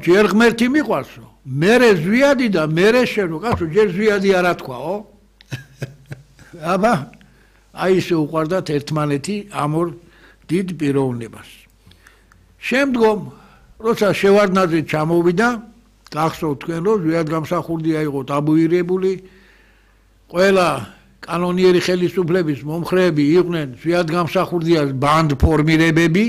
ჯერ ღმერთი მიყვარსო. მერე ზვიადი და მერე შენო, კაცო, ჯერ ზვიადი არა თქვაო. აბა, აი ესე უყვარდათ ერთმანეთი ამ ორ დიდ პიროვნებას. შემდგომ, როცა შევარდნაძე ჩამოვიდა, გახსოვთ თქვენ, რომ ზვიად გამსახურდია იყო ტაბუირებული, ყველა კანონიერი ხელისუფლების მომხრეები იყვნენ ზვიად გამსახურდიას ბანდ ფორმირებები.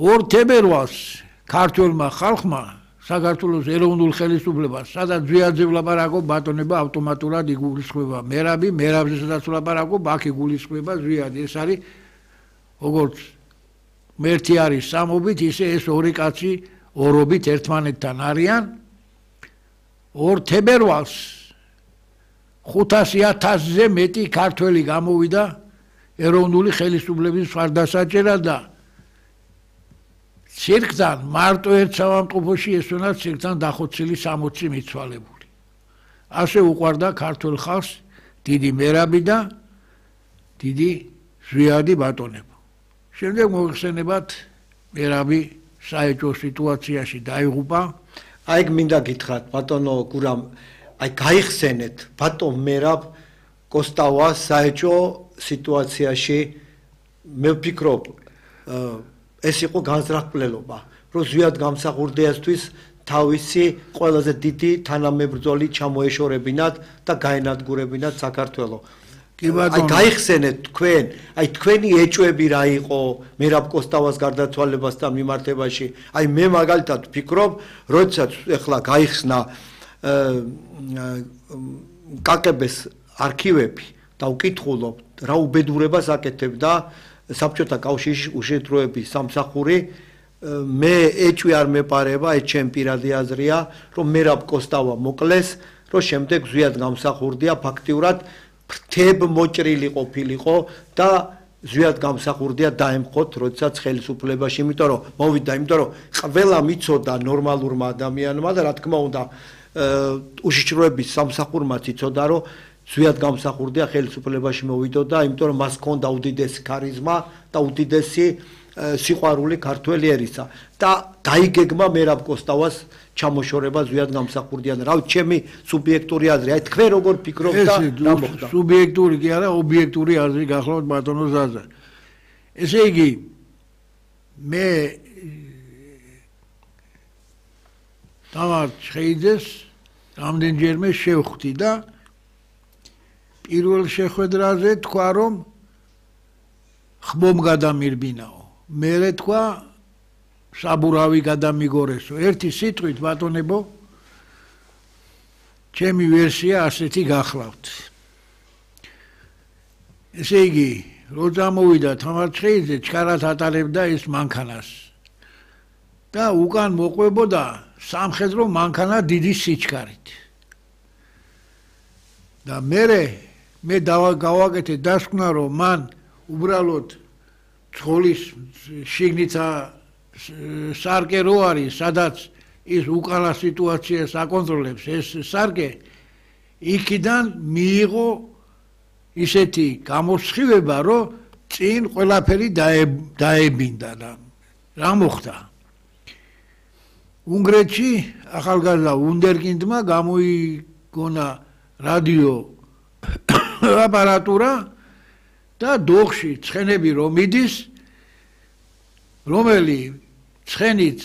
2 თებერვალს ქართველმა ხალხმა საქართველოს ეროვნულ ხელისუფლებას, სადაც ზვიადზე ვლაპარაკობ, ბატონება ავტომატურად იგულისხმება მერაბი, მერაბზე სადაც ვლაპარაკობ, აქ იგულისხმება ზვიადი. ეს არის როგორც მერთი არის სამობით, ისე ეს ორი კაცი ორობით ერთმანეთთან არიან. 2 თებერვალს 500,000-ზე მეტი ქართველი გამოვიდა ეროვნული ხელისუფლების მხარდასაჭერად და ცირკთან მარტო ერთ საავადმყოფოში ესვენა ცირკთან დახოცილი 60 მიცვალებული. ასე უყვარდა ქართველ ხალხს დიდი მერაბი და დიდი ზვიადი ბატონებო. შემდეგ მოიხსენებათ მერაბი საეჭვო სიტუაციაში დაიღუპა. აი მინდა გითხრათ ბატონო გურამ, აი გაიხსენეთ ბატონ მერაბ კოსტავას საეჭვო სიტუაციაში. მე ვფიქრობ ეს იყო განზრახპლელობა, რომ ზვიად გამსახურდიასთვის თავისი ყველაზე დიდი თანამებრძოლი ჩამოეშორებინათ და გაენადგურებინათ საქართველოს. აი გაიხსენეთ თქვენ, აი თქვენი ეჭვები რა იყო მერაბ კოსტავას გარდაცვალებასთან მიმართებაში. აი მე მაგალითად ვფიქრობ, როდესაც ეხლა გაიხსნა კაკების არქივები და ვკითხულობ რა უბედურებას აკეთებდა საბჭოთა კავშირის უშედეგოების სამსახური, მე ეჭვი არ მეპარება, ეს ჩემი პირადი აზრია, რომ მერაბ კოსტავა მოკლეს, რომ შემდეგ ზვიად გამსახურდია ფაქტიურად ფრთებ მოჭრილი ყოფილიყო და ზვიად გამსახურდია დაემხოთ, როდესაც ხელისუფლებაში, იმიტომ რომ მოვიდა, იმიტომ რომ ყველა მიცოდა ნორმალურმა ადამიანმა და რა თქმა უნდა უშიშროების სამსახურმაც იცოდა, რომ ზვიად გამსახურდია ხელისუფლებაში მოვიდოდა, იმიტომ რომ მას ჰქონდა უდიდესი ქარიზმა და უდიდესი სიყვარული ქართველი ერისა და დაიგეგმა მერაბ კოსტავას ჩამოშორება ზვიად გამსახურდიან. რა ვიცი, ჩემი სუბიექტური აზრი, აი თქვენ როგორ ფიქრობთ და რა მოხდა? სუბიექტური კი არა, ობიექტური აზრი გახლავთ ბატონო ზაზა. ესე იგი მე დავარ ჩხეიძეს რამდენჯერმე შევხვდი და პირველ შეხვედრაზე თქვა, რომ ხმომ გადამირბინაო. მერე თქვა საბურავი გადამიგორესო. ერთი სიტყვით ბატონებო, ჩემი ვერსია ასეთი გახლავთ. ესე იგი, რო წამოვიდა თამარ ჩხეიძე, ჩქარად ატარებდა ეს მანქანას და უკან მოყვებოდა სამხედრო მანქანა დიდი სიჩქარით. და მე გავაკეთე დასკვნა, რომ მან უბრალოდ ცხოვლის შიგნითა სარკე რო არის, სადაც ის უკანა სიტუაციას აკონტროლებს, ეს სარკე იქიდან მიიღო ისეთი გამოსხივება, რომ წინ ყველაფერი დაებინდა და რა მოხდა? უნგრეთში ახალგაზრდა ვუნდერკინდმა გამოიგონა რადიო აპარატურა და დოხში ცხენები რომ მიდის, რომელი ცხენიც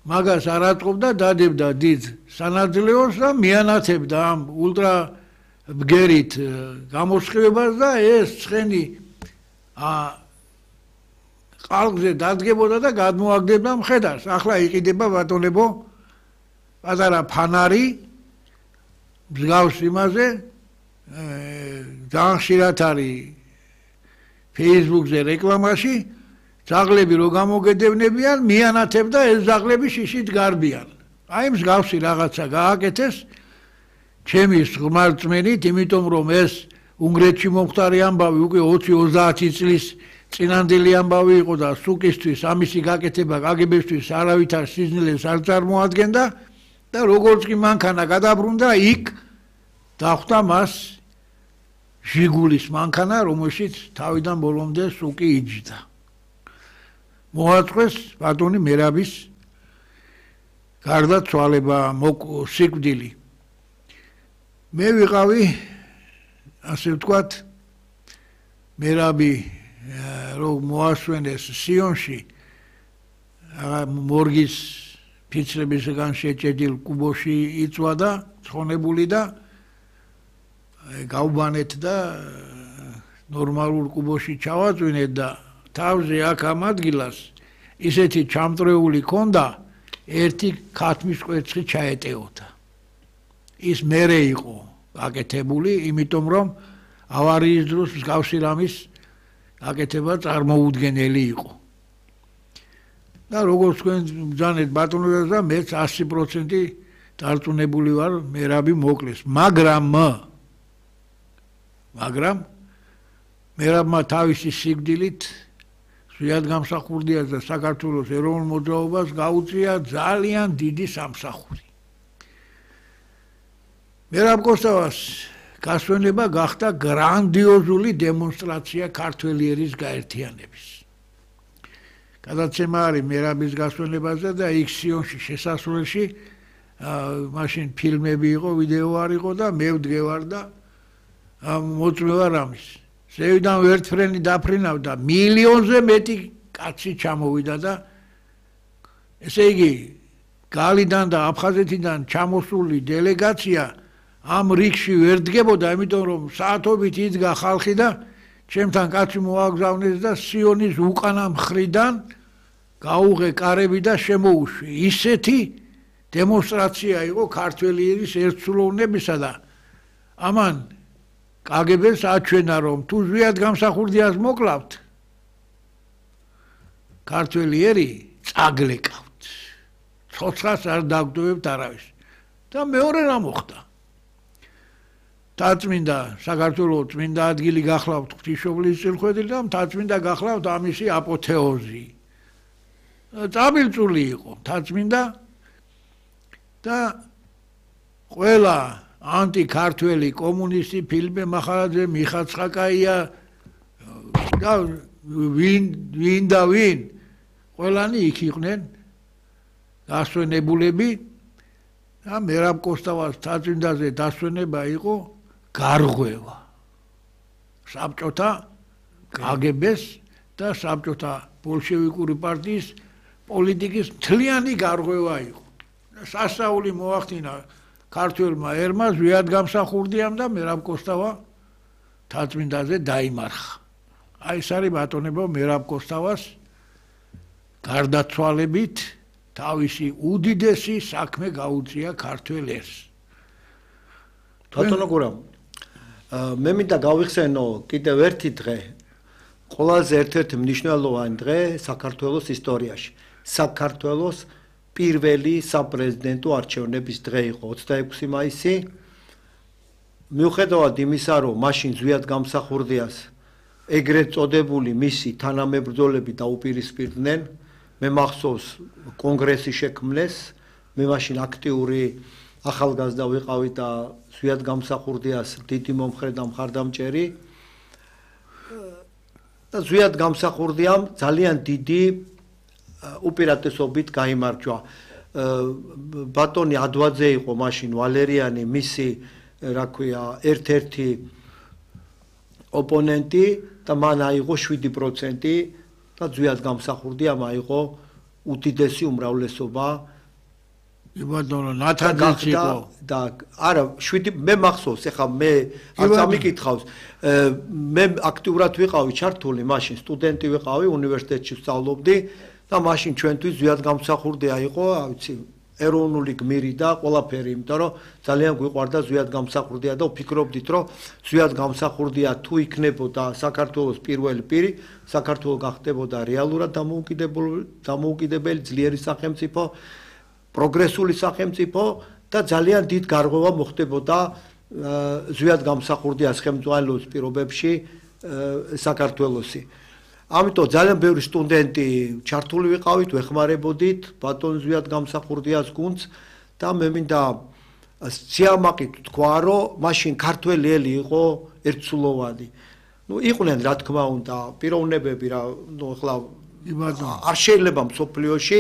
მაგას არ ატყობდა, დადებდა დიდ სანაძლეოს და მიანათებდა ამ ულტრა ბგერით გამოსხივებას და ეს ცხენი ყალყზე დადგებოდა და გადმოაგდებდა მხედარს. ახლა იყიდება ბატონებო პატარა ფანარი მსგავს იმაზე, ძალიან ხშირად არის Facebook-ზე რეკლამაში, ძაღლები რო გამოგედევნებიან, მიანათებდა ეს ძაღლები შიშით გარბიან. აი მსგავსი რაღაცა გააკეთეს ჩემი ღმერთწმენით, იმიტომ რომ ეს უნგრეთში მომხდარი ამბავი უკვე 20-30 წლის წინანდელი ამბავი იყო და სუკისთვის ამისი გაკეთება კგბ-ისთვის არავითარ სიზნელეს არ წარმოადგენდა და როგორც კი მანქანა გადაბრუნდა, იქ დახვდა მას ჟიგულის მანქანა, რომელშიც თავიდან ბოლომდე სუკი იჯდა. მოაწყვეს ბატონი მერაბის გარდაცვალება, სიკვდილი. მე ვიყავი, ასე ვთქვათ, მერაბი რომ მოასვენეს სიონში, მორგის ფიცრებისგან შეჭედილ კუბოში იწვა და ცხონებული და გავბანეთ და ნორმალურ კუბოში ჩავაწვინეთ და თავზე აქ ამ ადგილას ისეთი ჩამწრეული ქონდა, ერთი ქათმის კვერცხი ჩაეტეოდა. ის მერე იყო აკეთებული, იმიტომ რომ ავარიის დროს მსგავსი რამის აკეთება წარმოუდგენელი იყო. და როგორც თქვენ ბრძანეთ ბატონო და მეც 100% დარწმუნებული ვარ მერაბი მოკლეს, მაგრამ მერაბმა თავისი სიკვდილით ზვიად გამსახურდიას და საქართველოს ეროვნულ მოძრაობას გაუწია ძალიან დიდი სამსახური. მერაბ კოსტავას გასვენება გახდა გრანდიოზული დემონსტრაცია ქართველიერის გაერთიანების. გადაცემა არის მერაბის გასვენებაზე და იქ სიონში შესასვლელში მაშინ ფილმები იყო, ვიდეო არ იყო და მე ვდგევარ და მოწმევა რამის. ზევიდან ვერტფრენი დაფრინავდა, მილიონზე მეტი კაცი ჩამოვიდა და ესე იგი გალიდან და აფხაზეთიდან ჩამოსული დელეგაცია ამ რიგში ვერ დგებოდა, იმიტომ რომ საათობით იდგა ხალხი და ჩემთან კაცი მოაგზავნეს და სიონის უკანა მხრიდან გაუღე კარები და შემოუშვი. ისეთი დემონსტრაცია იყო ქართველიერის ერთსულოვნებისა და ამან კგბ-ს აჩვენა რომ თუ ზვიად გამსახურდიას მოკლავთ ქართველიერი წაგლეკავთ. ცოცხლას არ დაგდოვებთ არავის. და მეორე რა მოხდა? თაწმინდა საქართველოს წმინდა ადგილი გახლავთ ღვთისმშობლის წილხვედილი და თაწმინდა გახლავთ ამისი აპოთეოზი. წაბილწული იყო თაწმინდა და ყველა ანტიქართველი კომუნისტი ფილმე მახარაძე მიხაცხაკაია და ვინ ყველანი იქ იყვნენ დასვენებულები და მერაბ კოსტავას თაწმინდაზე დასვენება იყო გარღვევა საბჭოთა კგბ-ს და საბჭოთა ბოლშევიკური პარტიის პოლიტიკის მთლიანი გარღვევა იყო. სასწაული მოახდინა ქართველმა ერმა ზვიად გამსახურდიამ და მერაბ კოსტავა თაწმინდაზე დაიმარხა. აი ეს არის ბატონებო მერაბ კოსტავას გარდაცვალებით თავისი უდიდესი საქმე გაუწია ქართველ ერს. ბატონო გურამ, მე მინდა გავიხსენო კიდევ ერთი დღე, ყველაზე ერთ-ერთი მნიშვნელოვანი დღე საქართველოს ისტორიაში. საქართველოს პირველი საპრეზიდენტო არჩევნების დღე იყო 26 მაისი. მიუხედავად იმისა, რომ მაშინ ზვიად გამსახურდიას ეგრეთ წოდებული მისი თანამებრძოლები დაუპირისპირდნენ, მე მახსოვს კონგრესი შექმნეს, მე მაშინ აქტიური ახალგაზრდა ვიყავი და ზვიად გამსახურდიას დიდი მომხრე და მხარდამჭერი და ზვიად გამსახურდიამ ძალიან დიდი უპირატესობით გაიმარჯვა. ბატონი ადვაძე იყო მაშინ ვალერიანი მისი რა ქვია ერთ-ერთი ოპონენტი და მან აიღო 7% და ზვიად გამსახურდიამ აიღო უდიდესი უმრავლესობა. ბატონო ნათაძეც იყო და არა 7 მე მახსოვს ეხლა მე არ წამიკითხავს მე აქტიურად ვიყავი ჩართული მაშინ სტუდენტი ვიყავი უნივერსიტეტში ვსწავლობდი და მაშინ ჩვენთვის ზვიად გამსახურდია იყო ვიცი ეროვნული გმირი და ყველაფერი იმიტომ რომ ძალიან გვიყვარდა ზვიად გამსახურდია და ვფიქრობდით რომ ზვიად გამსახურდია თუ იქნებოდა საქართველოს პირველი პირი საქართველო გახდებოდა რეალურად დამოუკიდებელი ძლიერი სახელმწიფო პროგრესული სახელმწიფო და ძალიან დიდ გარღვევა მოხდებოდა ზვიად გამსახურდიას ხელმძღვანელობის პირობებში საქართველოსი. ამიტომ ძალიან ბევრი სტუდენტი ჩართული ვიყავით, ვეხმარებოდით ბატონ ზვიად გამსახურდიას გუნდს და მე მინდა სიამაყით თქვა, რომ მაშინ ქართველი ელი იყო ერთსულოვანი. იყვნენ რა თქმა უნდა პიროვნებები რა, ახლა არ შეიძლება მსოფლიოში